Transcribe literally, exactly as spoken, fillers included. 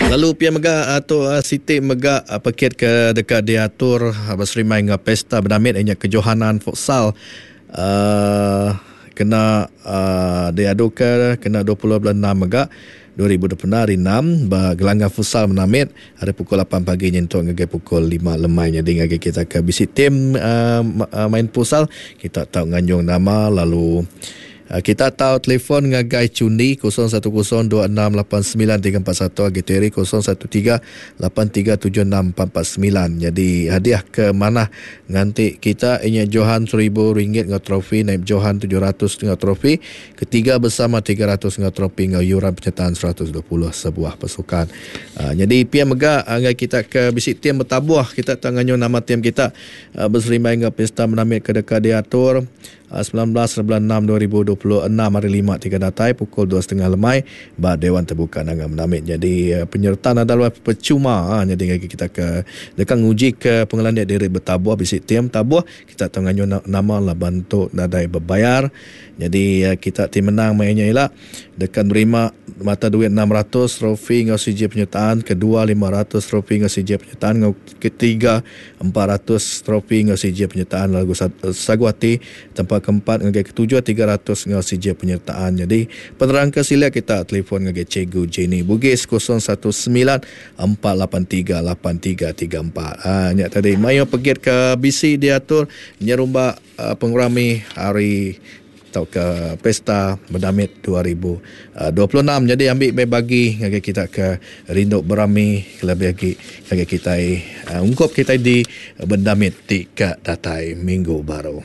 Lalu pia mega tu siti mega pekit ke deka diatur beserimbai enggau Pesta Bedamit inya Kejohanan Futsal uh, kena uh, diaduka kena dua puluh bulan enam mega dua ribu dua puluh enam hari enam ba gelanggang futsal Menamit hari pukul lapan pagi nyentuk ngagai pukul lima lemai. Jadi ngagai kita ke bisi tim uh, main futsal, kita tau nganjung nama lalu uh, kita tau telefon ngagai Cundi kosong satu kosong dua enam lapan sembilan tiga empat satu, agi Terry kosong satu tiga lapan tiga tujuh enam empat empat sembilan. Jadi hadiah ke mana nganti kita inya Johan seribu ringgit ngau trofi, naib Johan tujuh ratus ngau trofi, ketiga bersama tiga ratus ngau trofi ngau yuran penyertaan seratus dua puluh sebuah pasukan. Uh, jadi pia mega ngai kita ke bisi tim bertabuh, kita tak nganyo nama tim kita uh, berserimbai ngau Pesta Menamit ke deka diatur sembilan belas bulan enam dua ribu dua puluh enam hari lima tiga datai pukul dua setengah lemai ba Dewan Terbuka Nanga Menamit. Jadi penyertaan adalah percuma. Ha, jadi lagi kita ke dekat nguji ke pengelandik diri bertabuh bisi tim tabuh kita tahu nganyo nama lah bantu nadai berbayar. Jadi kita tim menang mainnya ialah dekat nerima mata duit enam ratus trofi ngau C J penyertaan, kedua lima ratus trofi ngau C J penyertaan, ngau ketiga empat ratus trofi ngau C J penyertaan lagu Saguati, tempat keempat ngagai ketujuh tiga ratus ngau C J penyertaan. Jadi penerang ke sila kita telefon ngagai Cikgu Jenny Bugis kosong satu sembilan empat lapan tiga lapan tiga tiga empat. Ha, nya tadi mayo pergi ke B C diatur nyerumba uh, pengerami hari atau ke Pesta Bedamit dua ribu dua puluh enam. Jadi ambil bagi ngagai kita ke rindu berami lebih lagi ngagai kita uh, ungkup kita di Bedamit tika datai minggu baru.